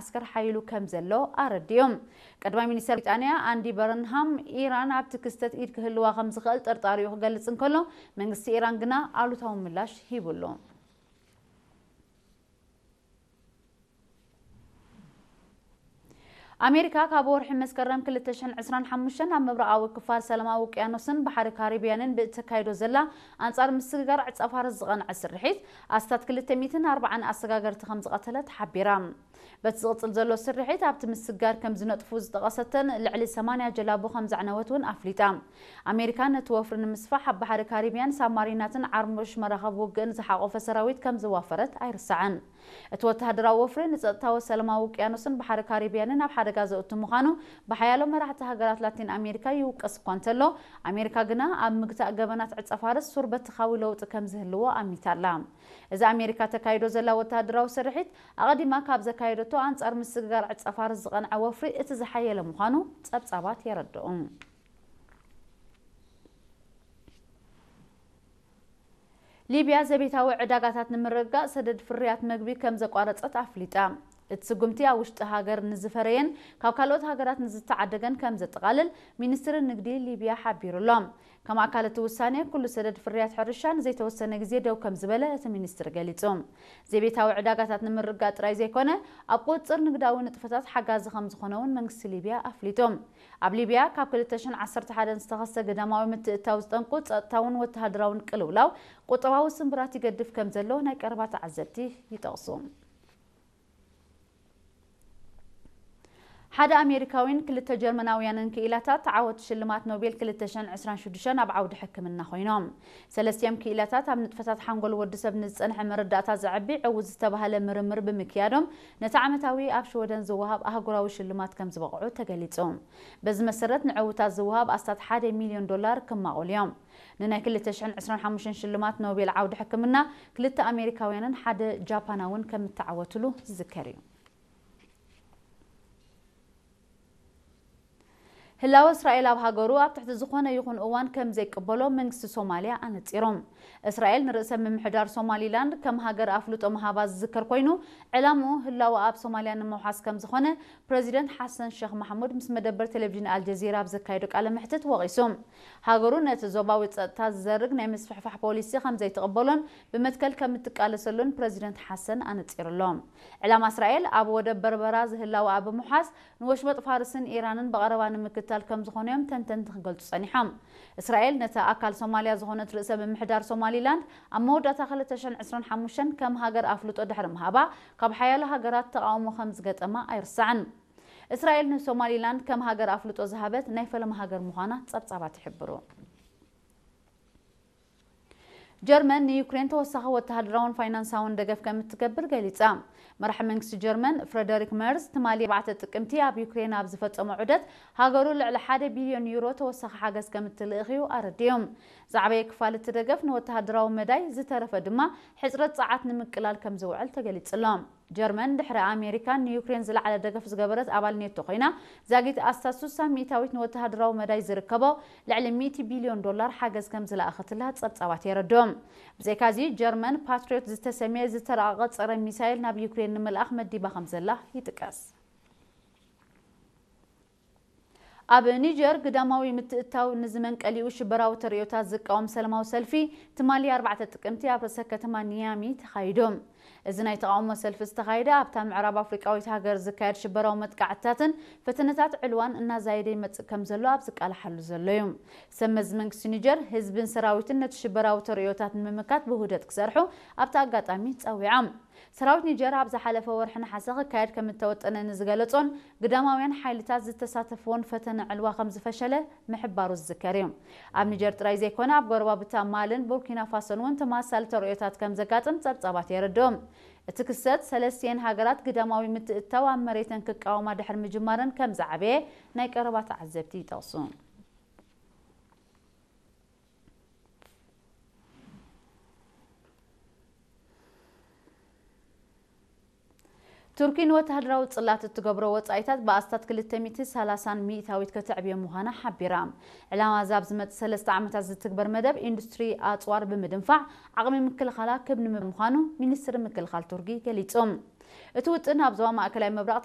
ዓስከር ሓይሉ ከም ዘሎ ኣረዲኡ። ቀዳማይ ሚኒስተር ብሪጣንያ ኣንዲ በርንሃም፣ ኢራን ኣብቲ ክስተት ኢድ ክህልዋ ከም ዝኽእል ጥርጣሪኡ ክገልጽ እንከሎ፣ መንግስቲ ኢራን ግና ኣሉታዊ ምላሽ ሂቡሉ። ኣሜሪካ ካብ ወርሒ መስከረም ክልተ ሽሕን ዕስራን ሓሙሽተን ኣብ ምብራቓዊ ክፋል ሰላማዊ ውቅያኖስን ባሕሪ ካሪብያንን ብእተካይዶ ዘላ ኣንጻር ምስግጋር ዕጸ ፋርስ ዝቐንዐ ስርሒት፣ ኣስታት ክልተ ሚእትን ኣርባዓን ኣሰጋገርቲ ከም ዝቐተለት ሓቢራ። በቲ ዝቕጽል ዘሎ ስርሒት፣ ኣብቲ ምስግጋር ከም ዝነጥፉ ዝጠቐሰተን ልዕሊ ሰማንያ ጀላቡ ከም ዘዕነወት እውን ኣፍሊጣ። ኣሜሪካ ነቲ ወፍሪ ንምስፋሕ ኣብ ባሕሪ ካሪብያን ሳብማሪናትን ዓርሞሽ መራኸቢ ውግእን ዝሓቖፈ ሰራዊት ከም ዘዋፈረት ኣይርሳዕን። እቲ ወተሃደራዊ ወፍሪ ንጸጥታዊ ሰላማዊ ውቅያኖስን ባሕሪ ካሪብያንን ኣብ ሓደጋ ዘእቱ ምዃኑ ብሓያሎ መራሕቲ ሃገራት ላቲን ኣሜሪካ ይውቀስ እኳ እንተሎ፣ ኣሜሪካ ግና ኣብ ምግታእ ገበናት ዕጸ ፋርስ ሱር በተኻዊ ለውጢ ከም ዝህልዎ ኣሚታ ኣላ። እዚ ኣሜሪካ ተካይዶ ዘላ ወተሃደራዊ ስርሒት፣ ኣቐዲማ ካብ ዘካየደቶ ኣንጻር ምስግጋር ዕጸ ፋርስ ዝቐንዐ ወፍሪ እቲ ዝሓየለ ምዃኑ ጸብጻባት የረድኡ። ሊብያ ዘቤታዊ ዕዳጋታት ንምርግጋጽ ሰደድ ፍርያት መግቢ ከም ዘቋረጸት ኣፍሊጣ። እቲ ስጉምቲ ኣብ ውሽጢ ሃገር ንዝፈረየን ካብ ካልኦት ሃገራት ንዝተዓደገን ከም ዘጠቓልል ሚኒስትሪ ንግዲ ሊብያ ሓቢሩ ኣሎ። ከም ኣካል እቲ ውሳኔ፣ ኩሉ ሰደድ ፍርያት ሕርሻ ንዘይተወሰነ ግዜ ደው ከም ዝበለ እቲ ሚኒስትሪ ገሊጹ። ዘቤታዊ ዕዳጋታት ንምርግጋጽ ጥራይ ዘይኮነ፣ ኣብ ቁጽጽር ንግዳዊ ንጥፈታት ሓጋዚ ከም ዝኾነ እውን መንግስቲ ሊብያ ኣፍሊጡ። ኣብ ሊብያ ካብ ክልተ ሽሕን ዓሰርተ ሓደን ዝተኸስተ ግዳማዊ ምትእትታው ዝጠንቁ ጸጥታውን ወተሃደራውን ቅልውላው ቁጠባዊ ስንብራት ይገድፍ ከም ዘሎ ናይ ቀረባ ተዓዘብቲ ይጠቕሱ። ሓደ ኣሜሪካዊን ክልተ ጀርመናውያንን ክኢላታት ዓወት ሽልማት ኖቤል ክልተ ሽሕን ዕስራን ሽዱሽተን ኣብ ዓውዲ ሕክምና ኮይኖም። ሰለስቲኦም ክኢላታት ኣብ ንጥፈታት ሓንጎል ወዲ ሰብ ንዝጸንሐ መረዳእታ ዘዕቢ ዕዉት ዝተባህለ ምርምር ብምክያዶም፣ ነቲ ዓመታዊ ኣብ ሽወደን ዝወሃብ ኣህጉራዊ ሽልማት ከም ዝበቕዑ ተገሊጹ። በዚ መሰረት ንዕዉታት ዝወሃብ ኣስታት ሓደ ሚልዮን ዶላር ክማቑል እዮም። ንናይ ክልተ ሽሕን ዕስራን ሓሙሽተን ሽልማት ኖቤል ዓውዲ ሕክምና ክልተ ኣሜሪካውያንን ሓደ ጃፓናውን ከም እተዓወትሉ ዝዝከር እዩ። ህላወ እስራኤል ኣብ ሃገሩ ኣብ ትሕቲ ዝኾነ ይኹን እዋን ከም ዘይቅበሎ መንግስቲ ሶማልያ ኣነጺሩ። እስራኤል ንርእሰ ምምሕዳር ሶማሊላንድ ከም ሃገር ኣፍልጦ ምሃባ ዝዝከር ኮይኑ፣ ዕላምኡ ህላወ ኣብ ሶማልያ ንምውሓስ ከም ዝኾነ ፕረዚደንት ሓሰን ሸኽ ማሕሙድ ምስ መደበር ቴሌቪዥን ኣልጀዚራ ኣብ ዘካየዶ ቃለ መሕትት ወቒሱ። ሃገሩ ነቲ ዞባዊ ጸጥታ ዝዘርግ ናይ ምስፍሕፋሕ ፖሊሲ ከም ዘይትቕበሎን ብመትከል ከም እትቃለሰሉን ፕረዚደንት ሓሰን ኣነጺሩ ኣሎ። ዕላማ እስራኤል ኣብ ወደብ በርበራ ዝህላወኣ ብምውሓስ፣ ንወሽመጥ ፋርስን ኢራንን ብቐረባ ንምክታል ከም ዝኾነ እዮም ተንተንቲ ክገልጹ ጸኒሖም። እስራኤል ነቲ ኣካል ሶማልያ ዝኾነት ርእሰ ምምሕዳር ሶማሊላንድ ኣብ መወዳእታ ክልተ ሽሕን ዕስራን ሓሙሽተን ከም ሃገር ኣፍልጦ ድሕሪ ምሃባ፣ ካብ ሓያሎ ሃገራት ተቓውሞ ከም ዝገጠማ ኣይርሳዕን። እስራኤል ንሶማሊላንድ ከም ሃገር ኣፍልጦ ዝሃበት ናይ ፈለማ ሃገር ምዃና ጸብጻባት ይሕብሩ። ጀርመን ንዩክሬን ተወሳኺ ወተሃደራውን ፋይናንሳውን ደገፍ ከም እትገብር ገሊጻ። መራሒ መንግስቲ ጀርመን ፍረደሪክ መርዝ ትማሊ ኣርባዕተ ጥቅምቲ ኣብ ዩክሬን ኣብ ዝፈጸሞ ዑደት፣ ሃገሩ ልዕሊ ሓደ ቢልዮን ዩሮ ተወሳኺ ሓገዝ ከም እትልእኽ እዩ ኣረዲኡ። ዝዓበየ ክፋል እቲ ደገፍ ንወተሃደራዊ መዳይ፣ ዝተረፈ ድማ ሕጽረት ጸዓት ንምቅላል ከም ዝውዕል ተገሊጹ ኣሎ። ጀርመን ድሕሪ ኣሜሪካን ንዩክሬን ዝለዓለ ደገፍ ዝገበረት ኣባል ኔቶ ኮይና፣ ዛጊት ኣስታት ስሳ ሚእታዊት ንወተሃደራዊ መዳይ ዝርከቦ ልዕሊ ሚእቲ ቢልዮን ዶላር ሓገዝ ከም ዝለኣኸትላ ጸብጻባት የረድኡ። ብዘይካዚ፣ ጀርመን ፓትሪዮት ዝተሰምየ ዝተራቐቐ ጸረ ሚሳይል ናብ ዩክሬን ንምልኣኽ መዲባ ከም ዘላ ይጥቀስ። ኣብ ኒጀር ግዳማዊ ምትእትታው ንዝመንቀሊኡ ሽበራዊ ተርእዮታት ዝቃወም ሰላማዊ ሰልፊ ትማሊ ኣርባዕተ ጥቅምቲ ኣብ ርእሰ ከተማ ኒያሚ ተኻይዱ። እዚ ናይ ተቓውሞ ሰልፊ ዝተኻየደ ኣብታ ምዕራብ ኣፍሪቃዊት ሃገር ዝካየድ ሽበራዊ መጥቃዕትታትን ፈተነታት ዕልዋን እናዛየደ ይመጽእ ከም ዘሎ ኣብ ዝቃልሓሉ ዘሎ እዩ። ሰብ መዚ መንግስቲ ኒጀር፣ ህዝብን ሰራዊትን ነቲ ሽበራዊ ተርእዮታት ንምምካት ብውህደት ክሰርሑ ኣብቲ ኣጋጣሚ ጸዊዖም። ሰራዊት ኒጀር ኣብ ዝሓለፈ ወርሒ ነሓሰ ክካየድ ከም እተወጠነ ንዝገለጾን ግዳማውያን ሓይልታት ዝተሳተፍዎን ፈተነ ዕልዋ ከም ዝፈሸለ ምሕባሩ ዝዝከር እዩ። ኣብ ኒጀር ጥራይ ዘይኮነ፣ ኣብ ጎረባብታ ማልን ቡርኪና ፋሶን እውን ተመሳሳሊ ተርእዮታት ከም ዘጋጥም ጸብጻባት የረድኡ። እቲ ክስተት፣ ሰለስቲኤን ሃገራት ግዳማዊ ምትእትታው ኣብ መሬተን ክቃወማ ድሕሪ ምጅማረን ከም ዝዓበየ ናይ ቀረባ ተዓዘብቲ ይጠቕሱ። ቱርኪ ንወተሃደራዊ ጽላት እትገብሮ ወጻኢታት ብኣስታት ክልተ ሚእቲ ሰላሳን ሚእታዊት ከተዕብዮ ምዃና ሓቢራ። ዕላማ እዚ ኣብ ዝመጽእ ሰለስተ ዓመታት ዝትግበር መደብ ኢንዱስትሪ ኣጽዋር ብምድንፋዕ ዓቕሚ ምክልኻላ ክብ ንምባል ምዃኑ ሚኒስትሪ ምክልኻል ቱርኪ ገሊጹ። እቲ ውጥን ኣብ ዞባ ማእከላይ ምብራቕ